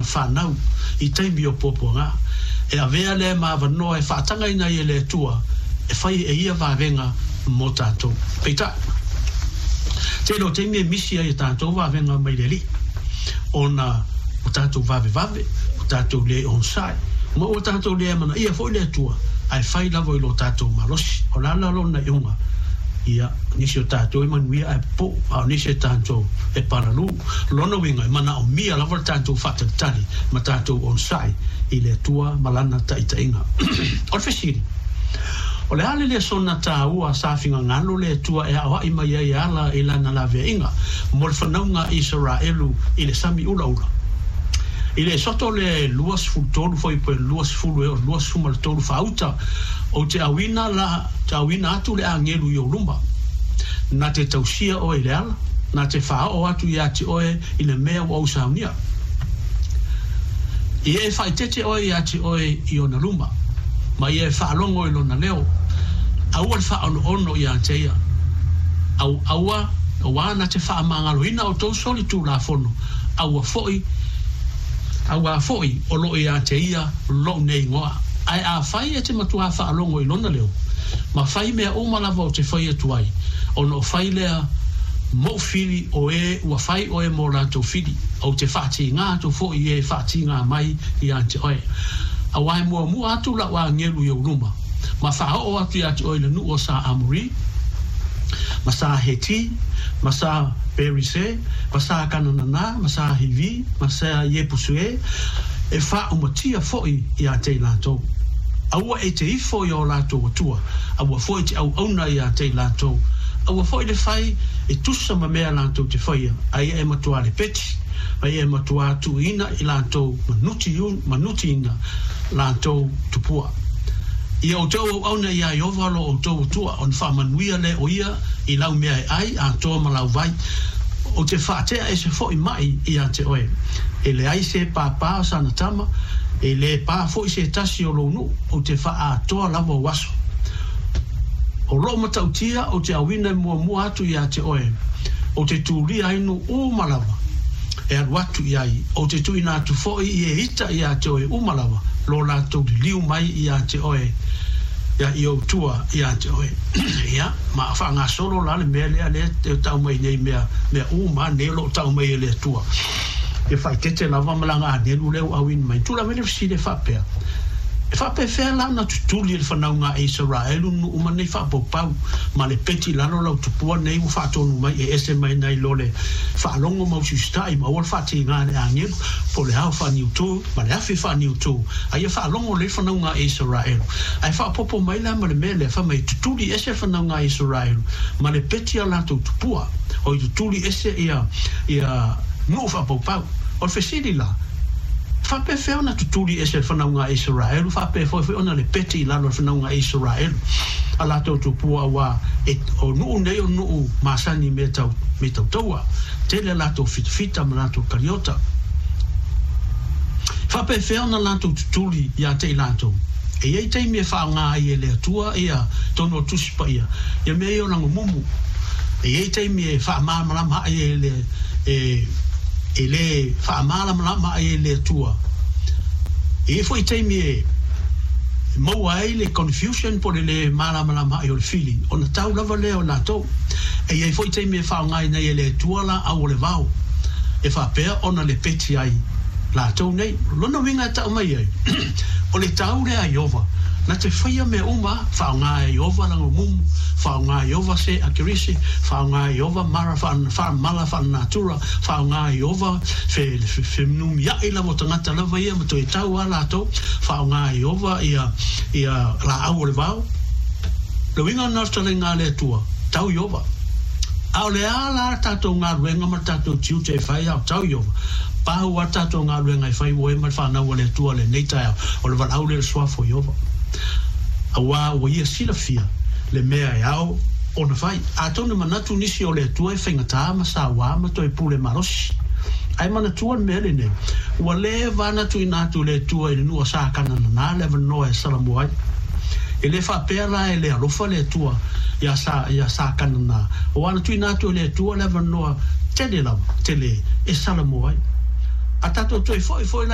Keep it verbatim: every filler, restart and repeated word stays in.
fanau i taimi o puapuaga. E avea lea ma avanoa e faatagaina ai e le Atua e fai e ia vavega mo tatou. Peitai, tele o taimi e misi ai a tatou vavega mai le Alii, ona ua tatou vavevave, ua tatou le onosai, ma ua tatou le amanaia foi le Atua, ae fai lava i lo tatou malosi. O le a la lona iuga? Ia, nisi o tatou e manuia ae popou, a o nisi o tatou e palalū. Lona uiga, e manaomia lava le tatou faatalitali ma tatou onosai i le Atua ma Lana taitaiga. O le fesili, o le a le lesona taua sa finagalo le Atua e aoai mai ai e ala i Lana laveaiga mo le fanauga a Isaraelu i le sami ulaula? I le Esoto le luasefulu tolu fuaiupu e luasefulu e oo i le luasefulu ma le tolu faauta, Ou te auina la, te auina atu le agelu i ou luma, na te tausia oe i le ala, na te faaoo atu ia te oe i le mea ua ou saunia. Ia e faaeteete oe ia te oe i ona luma, ma ia e faalogo i lona leo, aua le faaonoono ia te ia. Au, aua, auā na te faamagaloina outou solitulafono, aua foi, auā foi o loo ia te ia lou nei igoa. Ae afai e te matuā faalogo i lona leo, ma fai mea uma lava ou te fai atu ai, ona o fai lea mou fili o e ua fai oe mō latou fili, ou te faatīgā atu foi i e faatīgā mai ia te oe. Auā e muamua atu lau agelu i ou luma, ma faaoo atu ia te oe i le nuu o sa Amori, ma sa Heti, ma sa Perise, ma sa Kananana, ma sa Hivi, ma sa Iepusue, e faaumatia foi ia te i latou. Aua e te ifo i o latou atua, aua foi te auauna ia te i latou, aua foi le fai e tusa ma mea latou te faia, a ia e matuā lepeti, ma ia e matuā tuuina i latou manutiina latou tupua. Ia outou auauna iā Ieova lo outou Atua, ona faamanuia lea o ia i lau mea e ai atoa ma lau vai. Ou te faatea ese foi mai ia te oe. E leai se pāpā o sana tama, e lē pā foi se tasi o lou nuu, ou te faaatoa lava ou aso. O lou matautia ou te auina e muamua atu ia te oe, ou te tulia ai nuu uma lava e alu atu i ai, ou te tuuina atu foi i e ita ia te oe uma lava lo latou liliu mai ia te oe ia i ou tua ia te oe. Ia, ma faagasolo la le mea lea lea e tau mai nei mea, mea uma nei o loo tau mai e le Atua. E faaeteete lava ma lana agelu lea ua auina mai. Tulaga mai le fesili e faapea, E faapefea la ona tutuli e le fanauga a Isaraelu nuu ma nei faapaupau ma le peti i lalo lau tupua nei ua faatonu mai e ese mai nai lo le faalogo ma usiusitai ma aua le faatīgā i le agelu po o le ao faaniutū ma le afi faaniutū a ia faalogo lelei le fanauga a Isaraelu ae faaopoopo mai la ma le mea lea fai mai tutuli ese le fanauga a Isaraelu ma le peti a latou tupua oi tutuli ese ia ia nuu faapaupau. O le fesili la, faapefea ona tutuli ese le fanauga a Isaraelu, faapea foi foi ona lepeti i lalo le fanauga a Isaraelu a latou tupua, auā e, o nuu nei o nuu masani i mea tau, mea tau taua, tele a latou fitafita ma latou kaliota. Faapefea ona latou tutuli ia te i latou? E i ai taimi e faaaoga ai e le Atua ia tonu o Tusi Paia ia mea ia o lagumumu. E i ai taimi e faamalamalama ai e le, e, e lē faamalamalama ai e le Atua. E i ai foi taimi e maua ai le confusion po o le lē malamalama ai o le fili, ona tau lava lea o latou. E i ai foi taimi e faaaogaina ai e le Atua laau o le vao, e faapea ona lepeti ai latou nei. O lona uiga e tau mai ai, o le tau lea a Ieova, na te faia mea uma, faaaoga e Ieova lagumumu, faaaoga e Ieova se akirisi, faaaoga e Ieova mara mala faalenatura, faaaoga e Ieova fe fenumiai lava o tagata lava ia ma toe tau a latou, faaaoga e Ieova ia ia laau o le vao. Le uiga lena o le fetalaiga a le Atua, tau Ieova. A o le a la tatou galuega ma le tatou tiute e fai a o tau Ieova? Pau a tatou galuega e fai ua e ma le fanau a le Atua lenei taeao, o le valaau lea i le suafa o Ieova. Auā ua ia silafia le mea e ao ona fai. Atonu e manatu nisi o le Atua e faigata ma sauā ma toe pule malosi. Ae manatua le mea lenei, ua leva ana tuuina atu e le Atua i le nuu o Sakananana le avanoa e salamuai ai. E le faapea la e le alofa le Atua iā Sa, iā Sakananā, ua ana tuuina atu e le Atua le avanoa tele lava, tele e salamuai ai. A tatou toe foi foi la